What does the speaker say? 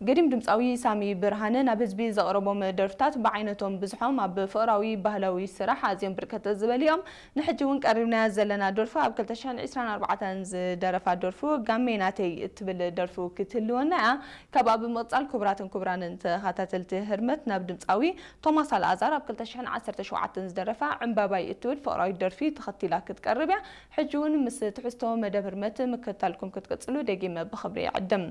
ገዲም ድምፃዊ ሳሚ ብርሃነ ናብ ህዝቢ ዘቕረቦም ደርፍታት ብዓይነቶም ብዙሖም ኣብ ፍቕራዊ ባህላዊ ስራሕ ኣዝዮም ብርከት ዝበሉ እዮም። ንሕጂ እውን ቀሪብናያ ዘለና ደርፉ ኣብ ክልተ ሽሕን ዕስራን ኣርባዕተን ዝደረፋ ደርፉ ጋሜ ናተይ እትብል ደርፉ ክትህልወና እያ። ካብኣ ብምቕፃል ክቡራትን ክቡራንን ተኸታተልቲ ህርመት ናብ ድምፃዊ ቶማስ ኣልኣዛር ኣብ ክልተ ሽሕን ዓሰርተ ሸውዓተን ዝደረፋ ዕምባባይ እትብል ፍቕራዊት ደርፊ ተኸቲላ ክትቀርብ እያ። ሕጂ እውን ምስ ትሕዝቶ መደብ ህርመት ምክትታልኩም ክትቅፅሉ ደጊመ ብኽብሪ ይዕድም።